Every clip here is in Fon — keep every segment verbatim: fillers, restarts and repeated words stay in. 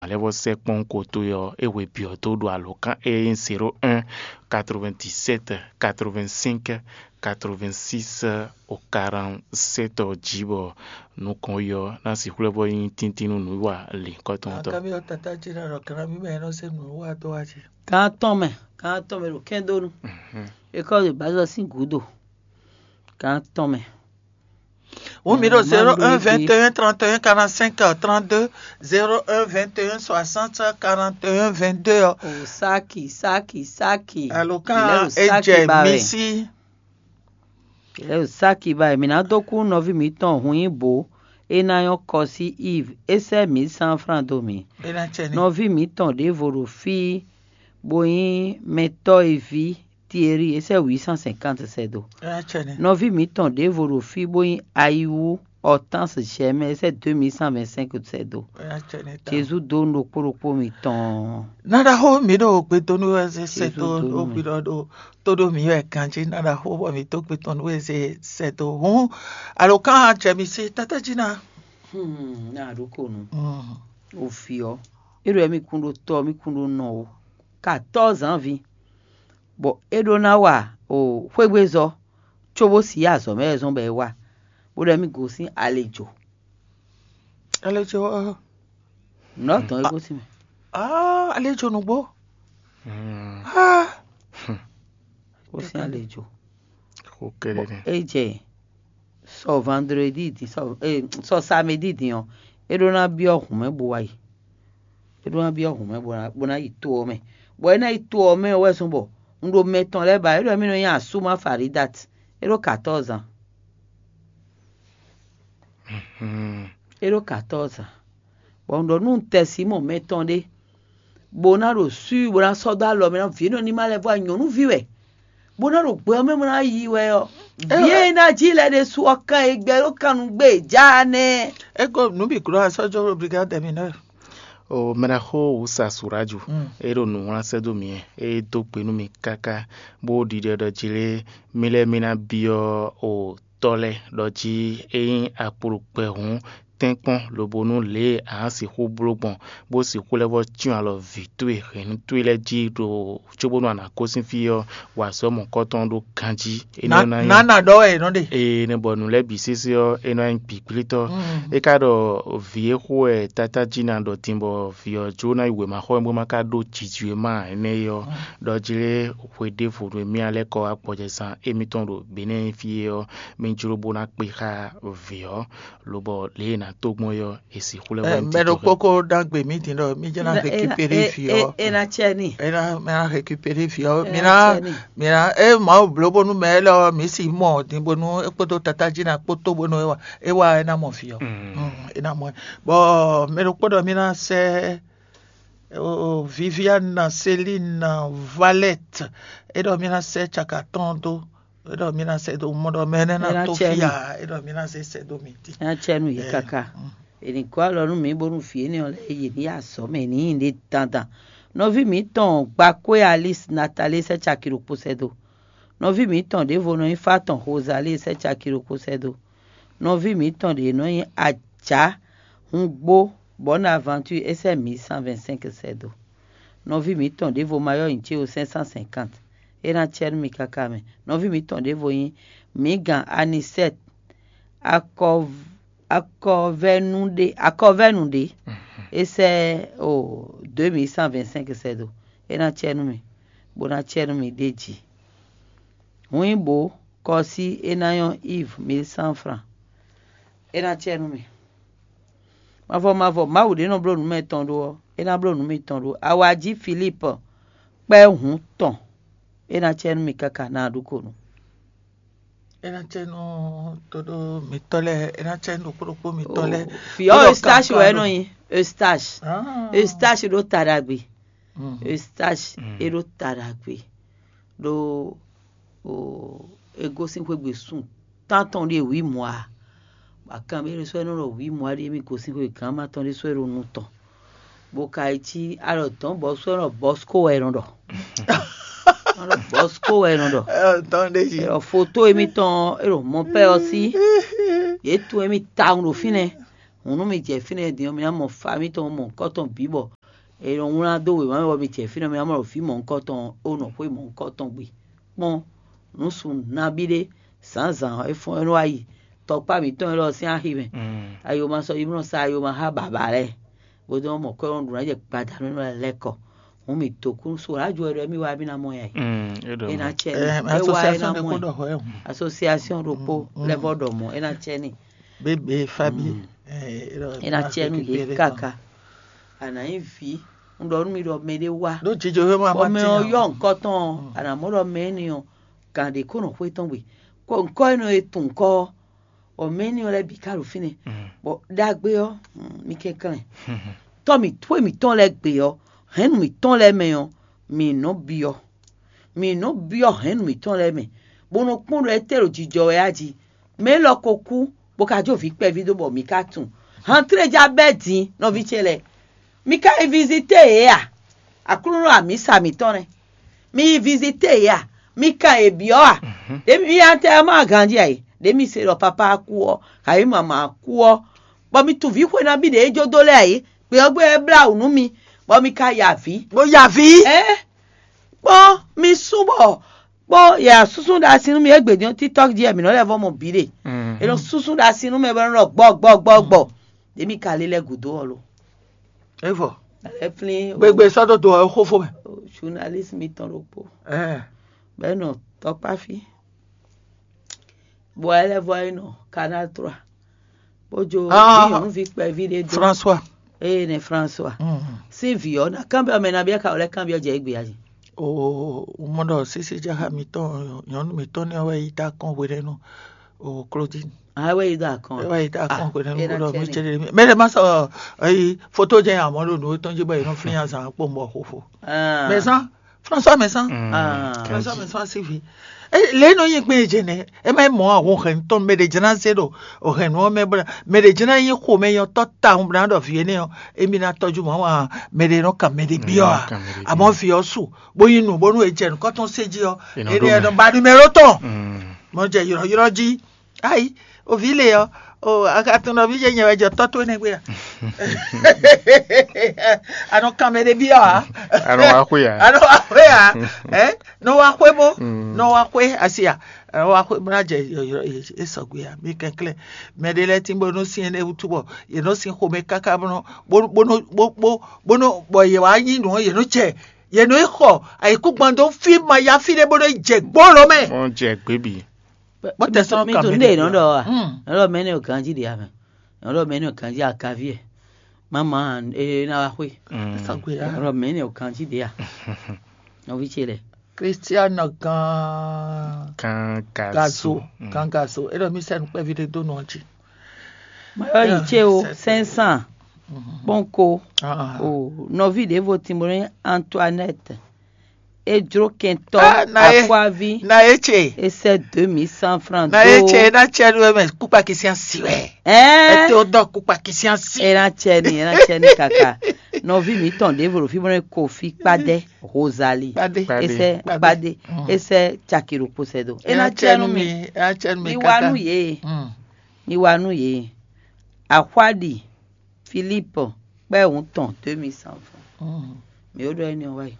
lɛ́ vɔ sɛ́ kpɔ́n ko towe ɔ́, é hwe byɔ̌ dó ɖo alǒkan e nyí zéro un, quatre-vingt-dix-sept, quatre-vingt-cinq, quatre-vingt-six, au quarante-sept ɔ́ jí, bɔ nukɔn yi ɔ́ ná sixú lɛ́ vɔ nyí tíntín nú nǔwiwa lǐnkɔ́tɔn tɔn. Akábí ɔ́, tatá jí ɖɔ ɖɔ kanabí mɛ ɛ nɔ zé nǔ wá dó wá jí. Gán tɔn mɛ, gán tɔn mɛ ɖo kɛ́ndónú. École de base ɔ́ sín gǔdo. Gán tɔn mɛ. Wǒ mi ɖo zéro un vingt et un trente et un quarante-cinq trente-deux, zéro un vingt et un soixante quarante et un vingt-deux ɔ́. O sáki, sáki, sáki. Alǒkan e jɛ mi sí. Lɛ́ o sáki ba mǐ ná dó kú nɔví mǐtɔn hun nyí bǒ, é ná nyɔ́ kɔ sí Iv, é sɛ́ mǐ sán flán dó mǐ. É ná cɛ ní. Nɔví mǐtɔn ɖěvo ɖo fí, bó nyí mɛtɔ́ e ví Tieri, é sɛ́ huit cent cinquante sɛ́ dó. É ná cɛ ní. Nɔví mǐtɔn ɖěvo ɖo fí, bó nyí Ayiwu Ɔtáns Jɛmɛ, é sɛ́ deux mille cent vingt-cinq sɛ́ dó. É ná cɛ ní tawun. Jezu dó nú ɖokpó ɖokpó mitɔn. Ná ɖaxó mǐ ɖo gbedonu wɛ zé sɛ́ Jezu dó dó nú ɖo mì. Hwi ɖɔ ɖo tó ɖó mǐ wɛ ganjí ná ɖaxó bɔ mǐ dó gbetɔn nú wɛ zé sɛ́ dó. Hǔn alǒkan jɛ mi sí tátájí ná. Hmm, ná ɖó konu. Mm. Ofi ɔ́, é ɖo mì kún ɖó tɔ́, mì kún ɖó nɔ ó. Quatorze ans vi. Bɔ é ɖó ná wa o xwégbézɔ́, cóbó si azɔ̌ mɛ wɛ zɔ́n bɔ é wa, bó ɖɔ mì gosín alejo. Alejo ɔ́. Nǔ ɖɔ dɔn é gosín mɛ. Ah, alejo nǔgbó. Mm. Ah. Gosín alejo. Xó kɛ́ɖɛ́ nɛ́. É jɛ sɔ vandredi din, sɔ, eh, sɔ samedi din ɔ́, é ɖó ná byɔ́ hǔn mɛ bó wá yi. É ɖó ná byɔ́ hǔn mɛ bó ná, bó ná yi to ɔ́ mɛ. Bɔ é ná yi to ɔ́ mɛ ɔ́ wɛ zɔ́n bɔ un ɖo mɛ tɔn lɛ́ɛ ba, é ɖɔ mì nɔ nyi asúma Faridat. É ɖó quatorze ans. Hmm. É ɖó quatorze ans. Bɔ un ɖɔ nú un tɛ Simɔn mɛ tɔn ɖé, bó ná ɖo swi, bó ná sɔ́ dó alɔ mɛ ná vǐ énɛ́ ní ma lɛ́ vɔ nyɔ̌nuví wɛ, bó ná ɖo gbɛ ɔ́ mɛ bó ná yi wɛ ɔ́, vǐ e ná jí lɛ́ ɖésú ɔ́ kán e gbɛ ɖó kannú gbé e já nɛ́. Ego nǔ bǐ glɔ́ asɔ́jɔ obrigade mi nɛ. O mɛɖaxó wǔ sa Suraju, mm, é ɖo nǔ wlán sɛ́ dó mì wɛ, é dó gbe nú mì káká, bó ɖiɖɔ ɖɔ jí lé, mì lɛ́ mì ná byɔ́ o tɔ́ lɛ́ɛ ɖɔ jí é nyí akpo ɖo gbɛ hǔn, tɛ́nkpɔ́n lobo nú lě e a nǎ sixú bló gbɔn, bó sixú lɛ́ vɔ́ cyɔ́n alɔ vǐ towe hɛ̌nnu towe lɛ́ɛ jí ɖo cóbónú a nǎ gosín fí ɔ́, wa azɔ̌ mɔ̌hunkɔtɔn ɖó ganjí. Énɛ́ ɔ́ ná nyí nǎ ɖɔ wɛ è nɔ ɖe. Ee, nɛ́ bɔ nǔ lɛ́ɛ bǐ sésé ɔ́, é nɔ nyí gbǐgblétɔ́. Mm. É ka ɖɔ vǐ e xo wɛ tátájí ná ɖɔ din bɔ vǐ ɔ́ jló ná yi wěmaxɔ bó má ka ɖó jǐjǐwéma énɛ́ é ɔ́, ɖɔ jlé hwe ɖěvo nú émí ná lɛ́ kɔ wá gbɔjɛzán émítɔn ɖo Benɛ́ɛ fí é ɔ́, mì jló bó ná kpé xá vǐ ɔ́, lobɔ lě e è nǎ tó gbɔn é ɔ́, è sixú lɛ́ wá Ɛ, nyí mɛ ɖokpó titɔnhɛn. Ko ɖagbe mǐ din ɖɔ mí jɛ ná Ena- ena- récupérer e- vǐ e- ɔ́. Ena cɛ ni. É ná mɛ ná récupérer vǐ ɔ́. Mí Ena ná cɛ ni. Mí ná é Mawu bló bónú mɛ élɔ́ mǐ si mɔ din bónú é kpódó tatájí ná kpótó bónú é wa é wa é ná mɔ vǐ ɔ́. Mm. Mm, é ná mɔ ɛ. Bɔ mɛ ɖokpó ɖɔ mí ná sɛ́ o, Viviane, Céline, Valette, é ɖɔ mí ná sɛ́ caka tɔn dó, é ɖɔ mí ná sɛ́ dó mɔ ɖɔ mɛ énɛ́ ná Ena tó cɛ fí ni. A, é ɖɔ mí ná zé sɛ́ dó mǐ dín. Ena cɛ nu yě Ɛ, kaka. Mm. Ènì kó alɔ nú mǐ bónú vǐ énɛ́ ɔ́ lɛ́ɛ yě ní yá azɔ̌ mɛ ní nyi ɖě dandan. Nɔví mǐtɔn Gbakwé Alice Nathalie sɛ́ caki ɖokpó sɛ́ dó. Nɔví mǐtɔn ɖěvo nɔ nyí Fátɔn Rosalie sɛ́ caki ɖokpó sɛ́ dó. Nɔví mǐtɔn ɖě nɔ nyí Ajǎ Hungbó Bonne Aventure é sɛ́ mǐ cent vingt-cinq sɛ́ dó. Nɔví mǐtɔn ɖěvo Mayɔ́ nyi cé o cinq cent cinquante. É ná cɛ nú mi káká mɛ. Nɔví mǐtɔn ɖěvo nyí Mǐgan Anisɛ́t Akɔv- Akɔvɛ́nu ɖé Akɔvɛ́nu ɖé. É sɛ́ o deux mille cent vingt-cinq sɛ́ dó. É ná cɛ nú mi, bó ná cɛ nú mi ɖ'é jí. Hǔn nyí bǒ kɔ sí é ná nyɔ́ Iv mil cent franc. É ná cɛ nú mi. Mavɔ mavɔ Mawu ɖě nɔ bló nǔ mɛ tɔn ɖó ɔ́, é ná bló nǔ mitɔn ɖó. Awají Filípu kpɛ́ hǔn tɔn, é ná cɛ nú mi káká ná ɖu ko nu. É ná cɛ nú todo mitɔ́ lɛ́ɛ, é ná cɛ nú ɖokpó ɖokpó mitɔ́ lɛ́ɛ. Fiɔ Eustache wɛ nɔ nyi. Eustache. Ah. Eustache ɖó ta ɖagbe. Mm. Eustache é ɖó ta ɖagbe. Ɖó o e gosín xwé gbe sun tántɔn ɖé wǐ mɔ̌ ǎ. Bɔ akanmɛ ɖé sɔ́ é nɔ ɖɔ wǐ mɔ̌ ǎ ɖíe mì gosín xwé gǎn ma tɔn ɖé sɔ́ é ɖo nu tɔn. Bó ka yi cí alɔ dɔ̌n bɔ sɔ́ é nɔ Bɔsko wɛ é nɔ ɖɔ. Nɔ ɖɔ Bɔsko wɛ é nɔ ɖɔ. Ɛ, tɔn ɖé jí. Ɛ, foto émítɔn é ɖo mɔpɛ́ ɔ́ sí. Yě tun émí tawun ɖo fínɛ́. Hǔn nú mi jɛ fínɛ́ din ɔ́, mi ná mɔ fa mitɔn mɔ̌hunkɔtɔn bǐ bɔ è nɔ wlán dó wěma mɛ bɔ mi jɛ fínɛ́, mi ná mɔ ɖɔ vǐ mɔ̌hunkɔtɔn e nɔ xwé mɔ̌hunkɔtɔn gbe. Kpɔ́n, nǔ sun nabí ɖé, zǎnzǎn ɔ́, é fɔ́n é nɔ wá yi tɔkpá mǐtɔn élɔ́ sín axi mɛ. Ayoma sɔ́ yi nɔ sa ayoma xá bǎbǎ lɛ́ɛ, bó dó mɔ kɔ́ nɔ ɖu ná jɛ gbadanu élɔ́ lɛ́ɛ kɔ. Hǔn mǐ dó kú so rájo wɛ ɖɔ émí wá émí ná mɔ yɛ. É ná cɛ ní. É wá é ná mɔ ɛ. Asosiasiɔn ɖokpó lɛ́ vɔ ɖɔ mɔ̌ é ná cɛ ní. Bébé Fabi. É ná cɛ nú yě káká. A nǎ nyí vǐ, un ɖɔ nú mi ɖɔ mɛɖé wá. Ɖó jijɔ wé ma bɔ mɛ ɔ́ yɔ nukɔn tɔn ɔ́, a nǎ mɔ ɖɔ mɛ énɛ́ ɔ́, gǎn ɖě kó nɔ xwé tɔn gbe. Kɔ nukɔn énɛ́ e tunwun kɔ ɔ́, bɔ mɛ énɛ́ ɔ́ lɛ́ɛ bǐ ka ɖo fínɛ́. Bɔ ɖagbe ɔ́, mi kɛnklɛ́n. Tɔ́ mǐ xwé mǐtɔn lɛ́ɛ gbe ɔ́, hɛ̌nnu mǐtɔn lɛ́ɛ mɛ ɔ́, mǐ nɔ byɔ́. Mǐ nɔ byɔ́ hɛ̌nnu mǐtɔn lɛ́ɛ mɛ, bó nɔ kpɔ́n ɖɔ étɛ́ ɖo jijɔ wɛ á jí. Mɛ élɔ́ ko kú, bó ka jó vǐ kpɛví dó bɔ mǐ ka tunwun. Hantlé já bɛ́ din, nɔví ce lɛ́ɛ. Mi ka yi vizité yě a? Aklúnɔ amǐsa mǐtɔn nɛ́. Mi yi vizité yě a? Mi kan yě byɔ́ a? Ɖě mi nya tɛ ɔ́ ma ganjí a yě. Ɖě mi se ɖɔ papá kú ɔ́, kayi mama kú ɔ́, bɔ mi tunwun vǐ xwe nabí ɖě é jó dó lɛ́ɛ a yě. Gbě ɔ́ gbé wɛ blá wǔ nú mi, bɔ mi ka ya avǐ. Bó ya avǐ. Ɛ́, kpɔ́n mi sú bɔ kpɔ́n yɛ súsú ɖo asi nú mi égbě din ɔ́, TikTok jí wɛ mǐ nɔ lɛ́ vɔ mɔ bǐ ɖe. È nɔ súsú ɖo asi nú mɛ bɔ é nɔ ɖɔ gbɔ gbɔ gbɔ gbɔ. Ɖě mi ka lé lɛ́ gǔdo ɔ́ lo. É vɔ. Alɛ flín. Gbegbe sɔ́ dó do ɔ́ xófó mɛ. Journaliste mitɔn ɖokpó. Ɛɛ. Bɔ é nɔ tɔkpá fí. Bɔ é lɛ́ vɔ é nɔ Canal trois. Bó jó nyɔ̌nuví kpɛví ɖé dó. François. Eye nɛ François. Sín vǐ ɔ́ ná kanbyɔ́ mɛ nabí é ka wɔ lɛ́ kanbyɔ́ jɛ égbé a jí. O mɔ ɖɔ sísí jáxa mitɔn nyɔ̌nu mitɔn ní ɔ́ wɛ yi dó akɔ́n hwenɛ́nu o Claudine. A wɛ yi dó akɔ́n. Ɛ wɛ yi dó akɔ́n hwenɛ́nu bó ɖɔ mí céɖé mí mɛ ɖé má sɔ eyi foto jɛ amɔ ɖo nǔ tɔn jí bɔ yě nɔ flín azǎn kpó mɔ xóxó. Mɛ zán François mɛ zán. François mɛ zán síví. Lě nɔ nyi gbɛn jɛ nɛ ɛ má mɔ ahun hɛn tɔn mɛ ɖé jɛn ná zé ɖo o hɛn nú ɔ́ mɛ bla mɛ ɖé jɛn ná nyi xomɛ nyɔ tɔ tawun bla ɖɔ vǐ énɛ́ ɔ́ émi ná tɔjú mɔ wa mɛ ɖé nɔ kan mɛ ɖé byɔ́ a amɔ vǐ ɔ́ su bó nyi nǔ bónú è jɛ nǔkɔntɔn sé jí ɔ́ énɛ́ ɔ́ nɔ ba numéro tɔn mɔ jɛ ylɔ́ylɔ́ jí. Ayi, o vǐ le ɔ́, o a ka tunwun ɖɔ vǐ ce nyɛ wɛ jɛ tɔ́ towe nɛ́ gbe a? A nɔ kan mɛ ɖé byɔ́ ǎ. A nɔ wá xwé ǎ. A nɔ wá xwé ǎ. Ɛ nɔ wá xwé bó nɔ wá xwé asi a? A nɔ wá xwé bó ná jɛ é sɔgbe a? Mi kɛnklɛ́n mɛ ɖé lɛ́ɛ tín bó nɔ sín énɛ́ wútu bɔ yě nɔ sín xomɛ káká bó nɔ bó bó nɔ bó bó bó nɔ bɔ yě wá nyí nǔ ɔ́ yě nɔ jɛ yě nɔ yi xɔ ayǐkúngban dó fí ma yá fí ɖé bó nɔ yi jɛ gbó lɔ mɛ. Wọ́n jẹ gbébi. Bó tɛ sɔn mi kan tún mɛ dé nɔ ɖɔ wa. Nɔ ɖɔ mɛ ne o ganji de amɛ. Nɔ ɖɔ mɛ ne o ganji akavi ɛ. Mama e na wa xwe. Sɔgbe ya. Nɔ ɖɔ mɛ ne o ganji de a. Nɔvi ce lɛ. Christian gan Kan gazo gaso. Kan gaso. E ɖɔ mi sɛ nukpɛvi ɖe do nɔ ji. Mayɔ yi ce o cinq cents. Kpɔnko. O nɔvi ɖevo timore Antoinette. E jlo kɛntɔ akwavi. Na ye ce. E sɛ deux mille cent francs. Na ye ce na cɛ nu ɛmɛ kukpakisian si wɛ. Ɛɛ. Ete o dɔ kukpakisian si. E na cɛ ni e na cɛ ni kaka. Nɔvi mi tɔn ɖevo ɖo fi bɔ ne kofi kpadɛ Rosalie. Kpadɛ. Esɛ kpadɛ. Esɛ caki ɖokpo sɛ do. E na cɛ nu mi. E na cɛ nu mi kaka. Mi wa nu ye. Mi wa nu ye. Axwaɖi Philippe kpɛ́ wǔ tɔn deux mille cent francs. Mi ó ɖɔ énɛ́ wá yi.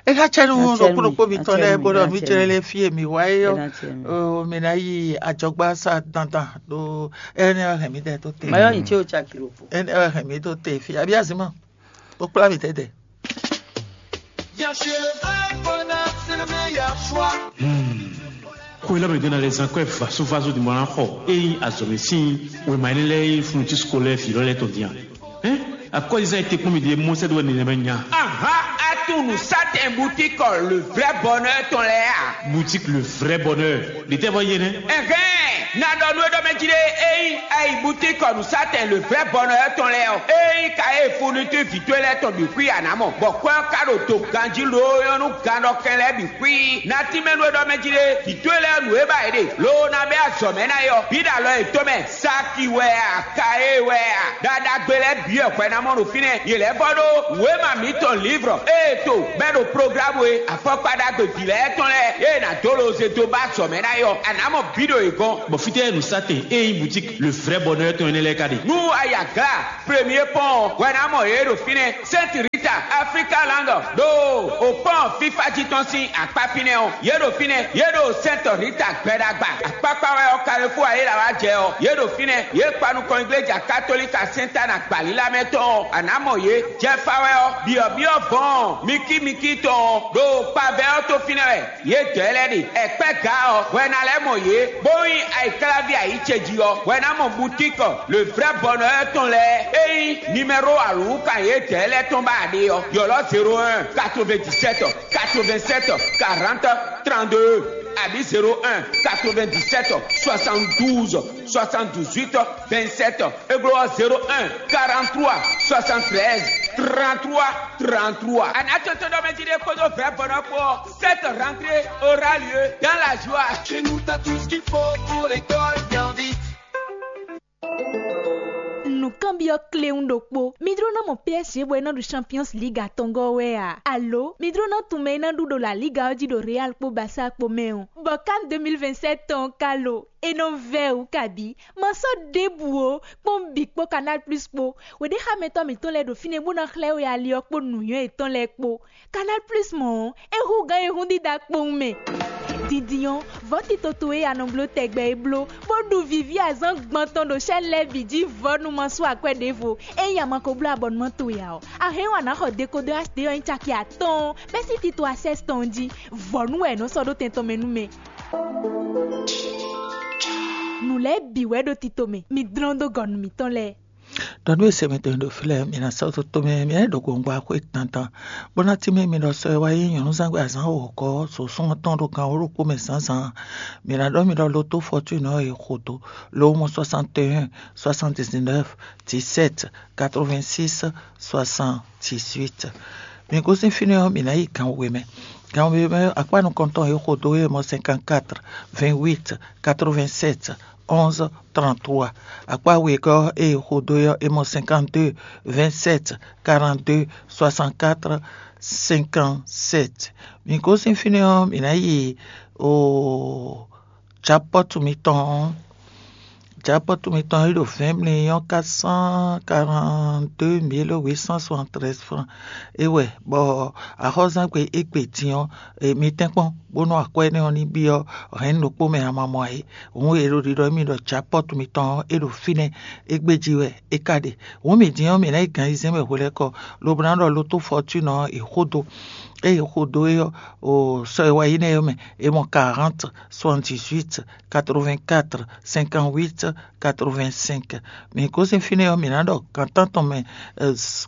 E ka cɛ nu ɖokpó ɖokpó mi tɔn lɛ bó ɖɔ mi jɛ lɛ fie mi wá yi yɔ. Mi na yi ajɔgba sa dandan ɖo ɛnɛ hɛn mi dɛ tó te. Mayɔ nyi tse o caki ɖokpo. Ɛnɛ hɛn mi tó te fi abi azima. Ó kplá mi tɛ dɛ. Ko ilé mi dena les enquêtes vaso vaso di mɔna xɔ eyi azɔmi sin wema ilé lɛ yi funu ti sukɔ lɛ fi lɔ lɛ tɔn diyan. Hein? Akɔlizan ete kpɔn mi di mɔ sɛ do ne mɛ nya. Aha, atunu satɛn boutique le vrai bonheur tɔn lɛ a? Boutique le vrai bonheur. Di tɛ fɔ yé nɛ. Ɛhɛn, na dɔ nu e dɔ mɛ ji de eyi ayi boutique nu satɛn le vrai bonheur tɔn lɛ ɔ. Eyi ka e funu ti vi to lɛ tɔn bi kui anamɔ. Bɔ kwɛ ka ɖo to ganji lo yɔnu gan dɔ kɛn lɛ bi kui. Na ti mɛ nu e dɔ mɛ ji de vi to lɛ nu e ba e de. Lo na bɛ azɔ mɛ na yɔ. Bi da lɔ e to mɛ. Saki wɛ a, ka e wɛ a, ɖaɖagbe lɛ́ɛ bǐ wɛ hwɛ ná mɔ ɖo fínɛ́; yě lɛ́ vɔ ɖó wěma mǐtɔn Livrɔ ée To bɛ́ ɖo programme e afɔkpa ɖagbe vǐ lɛ́ɛ tɔn lɛ́ɛ e nǎ dó loze dó ba azɔ̌ mɛ ná é ɔ́, a nǎ mɔ bǐ ɖo yě gɔ́n. Bɔ fítɛ́ nǔsatɛn e nyí boutique le vrai bonheur tɔn énɛ́ lɛ́ɛ ka ɖe? Nú a yi Aglá premier pɔ́n ɔ́, hwɛ ná mɔ yě ɖo fínɛ́. Sainte Rita Africa Land ɖo o pɔ́n fífá jí tɔn sín akpá fínɛ́ ɔ́, yě ɖo fínɛ́. Yě ɖo Sainte Rita gbɛɖagba akpákpá wɛ ɔ́, Carrefour ayéla wá jɛ ɔ́, yě ɖo fínɛ́. Yě kpa nukɔn igleja katolika Sainte Anne agbalílá mɛ tɔn ɔ́, a nǎ mɔ yě. Jɛfa wɛ ɔ́, byɔ̌byɔ́ vɔ̌ɔn mikímikí tɔn ɔ́, ɖo kpavɛ ɔ́ tó fínɛ́ wɛ. Yě dɔ̌ lɛ́ɛ ɖe. Ɛkpɛ́ ga ɔ́, hwɛ ná lɛ́ mɔ yě, bó nyí ayǐkláví ayǐ ce jí ɔ́, hwɛ ná mɔ boutique le vrai bonheur tɔn lɛ́ɛ. Ényí numéro alǔkan yě dɔ̌ lɛ́ɛ tɔn ba ɖe ɔ́, ylɔ́ zéro un, quatre-vingt-dix-sept, quatre-vingt-sept, quarante, trente-deux, abǐ zéro un, quatre-vingt-dix-sept, soixante-douze, soixante-dix-huit, vingt-sept. Églo ɔ́, zéro un, quarante-trois, soixante-treize, trente-trois, trente-trois. Anato to ɖɔ mɛ jí ɖe kpódó vɛ̌ bɔnɔ kpó ɔ́, cette rentrée aura lieu dans la joie. Chez nous, t'as tout ce qu'il faut pour l'école bien vite. Nǔkanbyɔ́ kléwún ɖokpó. Mi jló ná mɔ P S G bɔ é ná ɖu Champions League atɔngɔ́ wɛ a? Alo mi jló ná tunwun mɛ e ná ɖu ɖo La Liga ɔ́ jí ɖo Real kpó Barça kpó mɛ ɔ́? Bɔ CAN deux mille vingt-sept tɔn ɔ́ ka lo? É nɔ vɛ́ wǔ kabǐ. Ma sɔ́ ɖěbǔ ó, kpɔ́n bǐ kpó Canal Plus kpó. Wěɖéxámɛtɔ́ mǐtɔn lɛ́ɛ ɖo fínɛ́ bó ná xlɛ́ we ali ɔ́ kpó nǔnywɛ́ yětɔn lɛ́ɛ kpó. Canal Plus mɔ̌ ɔ́, é hú gǎn e hún dídá kpowun mɛ. Dindin ɔ́, vɔ̌ tito towe e a nɔ bló tɛgbɛ é bló, bó ɖu vǐví azǎn gbɔn tɔn ɖo chaîne lɛ́ɛ bǐ jí vɔ̌ nú ma sú akwɛ́ ɖěvo. Ényí a ma ko bló abɔnumán towe ǎ ɔ́, a hɛn ɔ́ a nǎ xɔ dekodɔ H D ɔ́ nyí caki atɔ́ɔ́n bɛ́ sín tito Access tɔn jí. Vɔ̌ nú wɛ è nɔ́ sɔ́ ɖó tɛn tɔn mɛ nú mɛ. Nǔ lɛ́ɛ bǐ wɛ ɖo tito mɛ, mi dlɔ́n dó gɔ̌ nú mǐtɔn lɛ́ɛ. Ɖɔ nú e se mitɔn ɖo fí lɛ́ɛ, mi ná sɔ́ toto mɛ, mi ná ɖo gongba xwé dandan, bó ná tínmɛ mi ɖɔ sɔ e wá yí nyɔ̌núzangbe azǎn wǒgɔ́ sǒsún ɔ́ tɔn ɖo gan wǒ ɖokpó mɛ zǎnzǎn. Mi ná ɖɔ mi ɖɔ loto fɔtúnɔ e xo dó lo mɔ soixante et un, soixante-dix-neuf, dix-sept, quatre-vingt-six, soixante-dix-huit. Mi gosín fínɛ́ ɔ́, mi ná yi gan we mɛ. Gan we mɛ akpá nukɔntɔn e xo dó e mɔ cinquante-quatre, vingt-huit, quatre-vingt-sept, onze, trente-trois. Akpá wegɔ́ e xo dó ɔ́, é mɔ cinquante-deux, vingt-sept, quarante-deux, soixante-quatre, cinquante-sept. Mi gosín fínɛ́ ɔ́, mi ná yi o japɔ́tu mitɔn ɔ́. Japɔ́tu mitɔn e ɖo vingt millions quatre cent quarante-deux mille huit cent soixante-treize francs. É wɛ bɔ axɔ́zangbe égbé din ɔ́, mi tɛ́nkpɔ́n bónú akwɛ́ énɛ́ ɔ́ ní byɔ́ hɛ̌nnu ɖokpó mɛ a ma mɔ ǎ é. Hǔn e ɖo ɖiɖɔ émí ɖɔ japɔ́tu mitɔn ɔ́, é ɖo fínɛ́, égbé jí wɛ é ka ɖe. Hǔn mǐ din ɔ́, mǐ ná yi gan ayizɛ́n mɛ hwelɛ́kɔ, lobo ná ɖɔ loto fɔtúnɔ ɔ́, è xo dó. Ée è xo dó é ɔ́, o sɔ e wá yi nɛ́ ɔ́ mɛ, è mɔ quarante, soixante-dix-huit, quatre-vingt-quatre, cinquante-huit, quatre-vingt-cinq. Mǐ gosín fínɛ́ ɔ́, mǐ ná ɖɔ gǎn tántɔn mɛ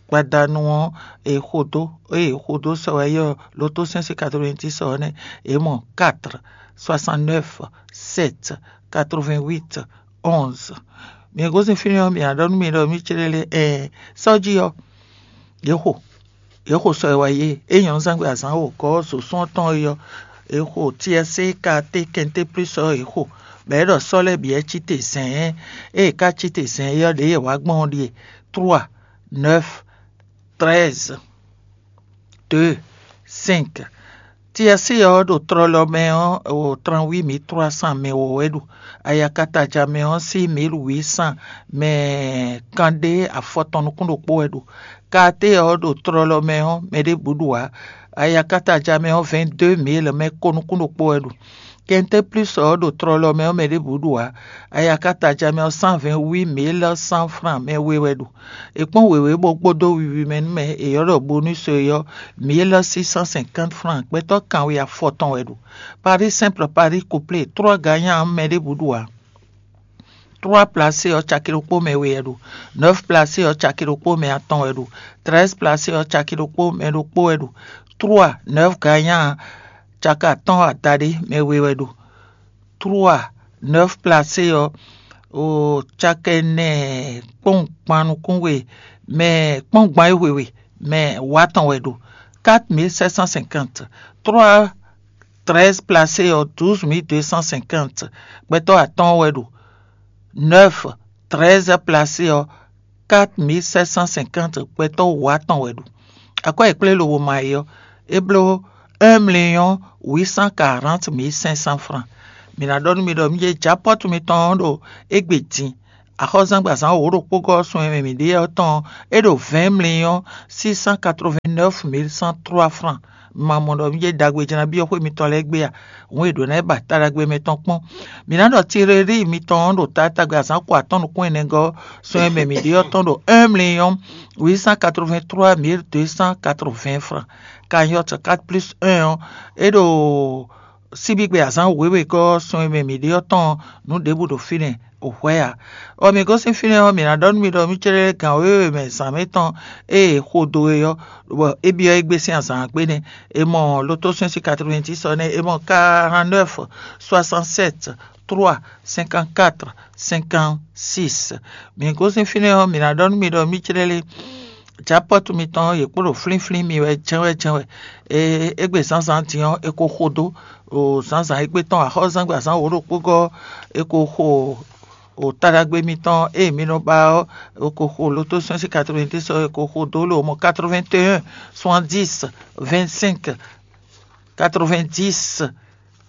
gbadanu ɔ́, è xo dó, ée è xo dó sɔ wá yi ɔ́, loto sɛ́n sín quatre-vingt-dix ɔ́ nɛ́, è mɔ quatre, soixante-neuf, sept, quatre-vingt-huit, onze. Mǐ gosín fínɛ́ ɔ́, mǐ ná ɖɔ nú mi ɖɔ mí céɖélé ɛɛ sɔ́ jí ɔ́, yě xo yě xo sɔ e wá yé é nyɔ̌núzangbe azǎn wǒgɔ́ sǒsún ɔ́ tɔn é ɔ́, è xo tiɛsé katé kɛnté plúsɔ ɔ́ è xo, bɔ é ɖɔ sɔ́ lɛ́ɛ bǐ wɛ cí te zɛ̌ɛ́n. Ée è ká cí te zɛ̌ɛ́n é ɔ́, ɖěe è wǎ gbɔn ɔ́ ɖíe: trois, neuf, treize, deux, cinq. Tiɛsé ɔ́ ɖo tlɔlɔ mɛ ɔ́, o trente-huit mille trois cents mɛ wǒ wɛ ɖu. Ayakataja mɛ ɔ́ sín mille huit cents mɛ kanɖé afɔtɔn nukún ɖokpó wɛ ɖu. Katé ɔ́ ɖo tlɔlɔ mɛ ɔ́, mɛ ɖěbǔ ɖu ǎ. Ayakataja mɛ ɔ́, vingt-deux mille mɛ ko nukún ɖokpó wɛ ɖu. Kɛntɛ́ plus ɔ́ ɖo tlɔlɔ mɛ ɔ́, mɛ ɖěbǔ ɖu ǎ. Ayakataja mɛ ɔ́, cent vingt-huit mille cent francs mɛ we wɛ ɖu. È kpɔ́n wěwé bó kpódó wiwi mɛ nú mɛ è ylɔ́ ɖɔ bonus é ɔ́, mille six cent cinquante francs, gbɛtɔ́ kanwe afɔtɔn wɛ ɖu. Paris simple, Paris couplé, trois gagnants mɛ ɖěbǔ ɖu ǎ. Trois placé ɔ́, caki ɖokpó mɛ we wɛ ɖu. Neuf placé ɔ́, caki ɖokpó mɛ atɔn wɛ ɖu. Treize placé ɔ́, caki ɖokpó mɛ ɖokpó wɛ ɖu. Trois, neuf gagnants, caki atɔ́ɔ́n adaɖé mɛ we wɛ ɖu. Trois, neuf placé ɔ́, o caki ɛnɛ kpɔ́nwun gban nukún we mɛ kpɔ́nwun gban e hwe we mɛ wǒ atɔn wɛ ɖu. Quatre mille sept cent cinquante. Trois, treize placé ɔ́, douze mille deux cent cinquante gbɛtɔ́ atɔ́ɔ́n wɛ ɖu. Neuf, treize placé ɔ́, quatre mille sept cent cinquante gbɛtɔ́ wǒ atɔn wɛ ɖu. Akwɛ́ e kplé lobo ma é ɔ́, é bló un million huit cent quarante mille cinq cents francs. Mǐ ná ɖɔ nú mi ɖɔ mǐ jɛ japɔ́tu mitɔn ɔ́ ɖo égbé din. Axɔ́zángbazán wǒ ɖokpó gɔ́ sun e mɛ mǐ ɖe ɔ́ tɔn ɔ́, é ɖo vingt millions six cent quatre-vingt-neuf mille cent trois francs. Ma mɔ ɖɔ mǐ jɛ ɖagbe jlá byɔ́ xwé mitɔn lɛ́ɛ gbé a? Hǔn e ɖǒ ná yi ba ta ɖagbe mɛ tɔn kpɔ́n. Mǐ ná ɖɔ Tirelíi mitɔn ɔ́ ɖo taatagbe azǎn ko atɔ́ɔ́n nukún ɛnɛ gɔ́ sun e mɛ mǐ ɖe ɔ́ tɔn ɖo un million huit cent quatre-vingt-trois mille deux cent quatre-vingts francs. Cagnotte quatre plus un ɔ́, é ɖo síbígbe azǎn wěwe gɔ́ sun e mɛ mǐ ɖe ɔ́ tɔn nǔ ɖěbǔ ɖo fínɛ́ o hwɛ̌ ǎ. Bɔ mǐ gosín fínɛ́ ɔ́, mǐ ná ɖɔ nú mi ɖɔ mǐ cɛ́ɖɛ́ gǎn wěwe mɛ zǎn mɛ tɔn e è xo dó é ɔ́, bɔ é byɔ́ égbé sín azǎn gbe nɛ́. È mɔ loto sɛ́n sín katrovɛ́ntísɔ nɛ́, è mɔ quarante-neuf soixante-sept trois cinquante-quatre cinquante-six. Mǐ gosín fínɛ́ ɔ́, mǐ ná ɖɔ nú mi ɖɔ mǐ cɛ́ɖɛ́ lé. Japɔ́tu mitɔn yě kpo ɖo flínflín mi wɛ jɛ́n wɛ jɛ́n wɛ. Égbé zǎnzǎn din ɔ́, è ko xo dó o zǎnzǎn égbé tɔn axɔ́zángbazán wǒ ɖokpó gɔ́, è ko xo o taɖagbe mitɔn e mi nɔ ba ɔ́, è ko xo loto sɛ́n sín katrovɛ́ntísɔ, è ko xo dó lo mɔ quatre-vingt-un soixante-dix vingt-cinq quatre-vingt-dix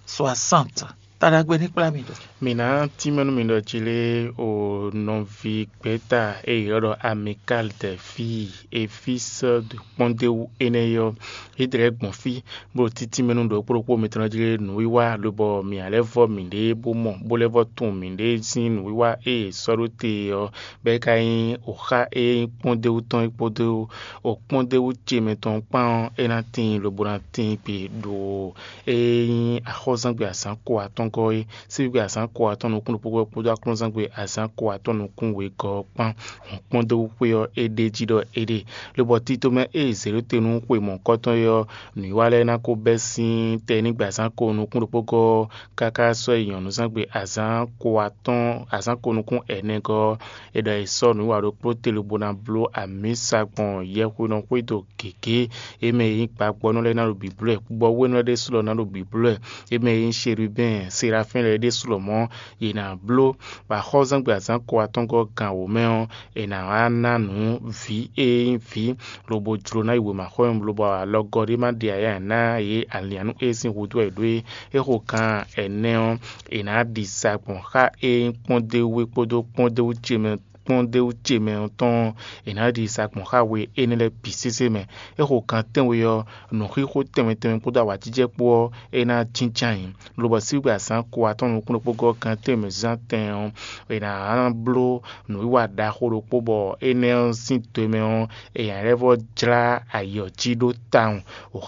soixante. Taɖagbe ní kplá mi ɖo. Mǐ ná tínmɛ nú mi ɖɔ jí lé o nɔví gbɛ́ta e è ylɔ́ ɖɔ Amikal Dɛ̌fi Efísɔ́ kpɔ́ndéwú énɛ́ ɔ́, é ɖlɛ̌ gbɔn fí bó ɖo títínmɛ nú ɖokpó ɖokpó mitɔn jí lé nǔwiwa, lobɔ mǐ ná lɛ́ vɔ́ mǐɖée bó mɔ, bó lɛ́ vɔ́ tunwun mǐɖée sín nǔwiwa e è sɔ́ ɖó te ɔ́, bɔ é ka nyí oxá e nyí kpɔ́ndéwú tɔn é kpódó o kpɔ́ndéwú ce mɛ tɔn kpán ɔ́, é ná tíin lobo ná tíin gbe ɖo e nyí axɔ́zángbé azǎn ko atɔ́ɔ́ngɔ́ é, síbígbe azǎn ko atɔ́ɔ́n nukún ɖokpó kpódó aklúnɔzángbé azǎn ko atɔ́ɔ́n nukún wegɔ́ ɔ́ kpán. Hɔn kpɔ́ndéwú xwé ɔ́, é ɖ'é jí ɖɔ é ɖe. Lobɔ tito mɛ e è zě ɖó te nú xwe mɔ̌hunkɔtɔn é ɔ́, nǔwiwa lɛ́ɛ ná ko bɛ́ sín tɛnígbe azǎn ko nukún ɖokpó gɔ́ ɔ́, káká sɔ́ yi nyɔ̌nuzángbe azǎn ko atɔ́ɔ́n azǎn ko nukún ɛnɛ gɔ́ ɔ́, è ɖɔ è sɔ́ nǔwiwa ɖokpó te lobo ná bló amǐsa gbɔn yɛhwenɔ xwédo gěgé. É mɛ e nyí gbagbɔ́nɔ lɛ́ɛ ná ɖo bǐblɔ́ ɛ, gbɔ́wénɔ lɛ́ɛ ɖésú lɔ ná ɖo bǐblɔ́ ɛ. É mɛ e nyí Sherubɛ́n, Serafín lɛ́ɛ ɖésú lɔmɔ̌, yě ná bló. Bɔ axɔ́zángbé azǎn ko atɔ́ɔ́ngɔ́ gan wǒ mɛ ɔ́, è nǎ wá ná nǔ vǐ e nyí vǐ, lobo jló ná yi wěmaxɔ́ mɛ, lobo alɔgɔ́ ɖé ma ɖe aya ná yě alianú e sín húzú wɛ è ɖǒ é. É xo gan ɛnɛ ɔ́, è nǎ ɖi sa gbɔn xá e nyí kpɔ́ndéwú é kpódó kpɔ́ndéwú ce mɛ kpɔ́ndéwú ce mɛ ɔ́ tɔn ɔ́, è nǎ ɖi sa gbɔn xá we énɛ́ lɛ́ɛ bǐ sésé mɛ. É xo gan tɛ́nwe ɔ́, nǔxixo tɛnmɛ tɛnmɛ kpódó awǎjijɛ kpó ɔ́, é ná jínjɔ́n ayǐ. Lobɔ síbígbe azǎn ko atɔ́ɔ́n nukún ɖokpó gɔ́ gan tɛ́nwe mɛ zán tɛn ɔ́, è nǎ bló nǔwiwa ɖaxó ɖokpó bɔ énɛ́ ɔ́ sín do e mɛ ɔ́, è nǎ lɛ́ vɔ́ jlá ayǐ ɔ́ jí ɖó tawun.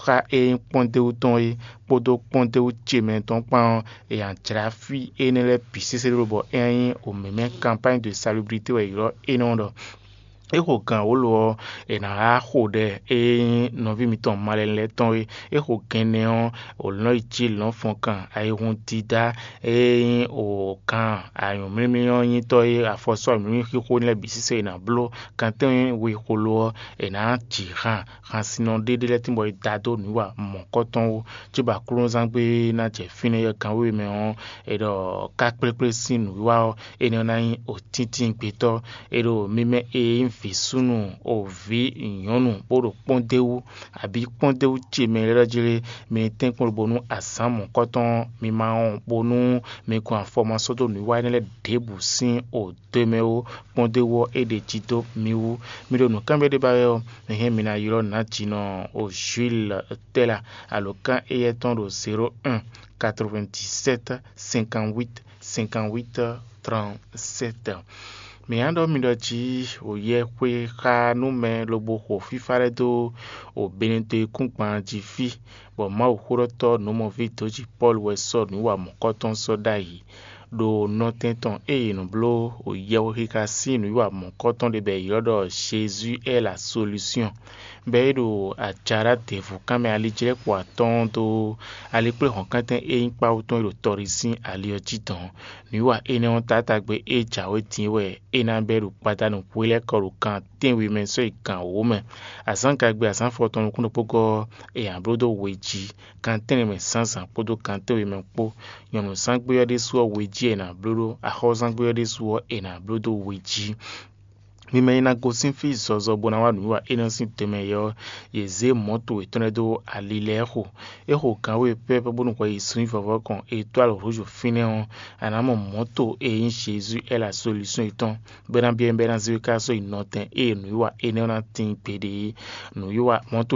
Xá e nyí kpɔ́ndéwú tɔn é kpódó kpɔ́ndéwú ce mɛ tɔn kpán ɔ́, è nǎ jlá fí énɛ́ lɛ́ɛ bǐ sésé ɖó bɔ é ná nyí wěmɛ́mɛ́ kanpány de salublité wɛ è ylɔ́ énɛ́ ɔ́ ɖɔ. É xo gǎn wǒ lo ɔ́, è nǎ wá xo ɖɛ e nyí nɔví mitɔn malɛnu lɛ́ɛ tɔn é. É xo gɛnɛ ɔ́, wǒ lɔn yi jí lɔn fɔn kan ayihun dídá e nyí wǒ kan anyǔmlímlí ɔ́ nyítɔ́ é, afɔsɔ́ anyǔmlímlí xixo lɛ́ɛ bǐ sísɛ è nǎ bló. Kan tɛ́nwe we xo lo ɔ́, è nǎ jǐ han hansinnɔ ɖé ɖé lɛ́ɛ tínbɔ è da dó nǔwiwa mɔ̌kɔtɔn wú, cóbɔ aklúnɔzán gbé ná jɛ fínɛ́ yɔ́ gǎn wěwe mɛ ɔ́, è ɖɔ ká kplékplé sín nǔwiwa ɔ́, énɛ́ ɔ́ ná nyí òtíntín gbetɔ́. È ɖo mi mɛ e nyí vǐ súnnu, o vǐ nyɔ̌nu, bó ɖo kpɔ́ndéwú, abǐ kpɔ́ndéwú ce mɛ lɛ́ɛ jí lé, mi ní tɛ́nkpɔ́n lobo nú azǎn mɔ̌kɔtɔn ɔ́, mi ma wɔn bónú mi gɔn afɔ ma sɔ́ dó nǔwiwa énɛ́ lɛ́ɛ ɖěbǔ sín o do e mɛ ó, kpɔ́ndéwú ɔ́, é ɖe jí dó mi wú. Mi ɖo nǔkanbyɔ́ ɖé ba wɛ ɔ́, mi hɛn mi ná ylɔ́ nǎjínɔ o Jules Tɛ́la, alǒkan éyɛ́ tɔn ɖo zéro un quatre-vingt-dix-sept cinquante-huit cinquante-huit trente-sept. Mǐ ná ɖɔ mi ɖɔ jí o yɛ xwe xá nú mɛ lobo xo fífá lɛ́ɛ dó o Benedekúngban jí fí, bɔ Mawuxóɖɔtɔ́ nǔmɔví dǒjí Pɔ́lu wɛ sɔ́ nǔwiwa mɔ̌kɔtɔn sɔ́ ɖ'ayǐ. Ɖo nɔtɛn tɔn e è nɔ bló yɛhwexixa sín nǔwiwa mɔ̌kɔtɔn ɖé bɔ è ylɔ́ ɖɔ Jésus est la solution, bɔ é ɖo ajaɖá děvú kanmɛ alijlɛ́kpo atɔ́ɔ́n dó alikpléhɔ̌nkántɛn e nyí kpáwú tɔn e ɖo tɔɖi sín ali ɔ́ jí dɔn. Nǔwiwa énɛ́ ɔ́, taátagbe e jǎwe din wɛ é ná bɛ́ ɖo gbadanu hwelɛ́kɔ ɖo kan tɛ́nwe mɛ sɔ́ yi gan wǒ mɛ. Azǎngagbe azǎn afɔtɔn nukún ɖokpó gɔ́ ɔ́, è nǎ bló dó we jí, gan tɛ́nnɛ mɛ zǎnzǎn kpódó gan tɛ́nwe mɛ kpó. Nyɔ̌nuzángbe ɔ́ ɖésú ɔ́, we jí è nǎ bló ɖó; axɔ́zángbe ɔ́ ɖésú ɔ́, è nǎ bló dó we jí. Mi mɛ e ná gosín fí zɔzɔ bó ná wá nǔwiwa énɛ́ sín tɛnmɛ yɛ ɔ́, yě zé mɔ̌to yětɔn lɛ́ɛ dó ali lɛ́ɛ xo. É xo gǎn we pɛ́pɛ́ bónú hwɛ yi zun nyi vɔvɔ́ kɔn e dó alɔ Hlozofínɛ́ ɔ́, a nǎ mɔ mɔ̌to e nyí Jezu Ɛ́la Solúsɔ́n yětɔn, bɔ é ná byɔ́ nyí bɔ é ná zé we ká sɔ́ yi nɔtɛn ée nǔwiwa énɛ́ ɔ́ ná tíin gbeɖé é. Nǔwiwa mɔ̌to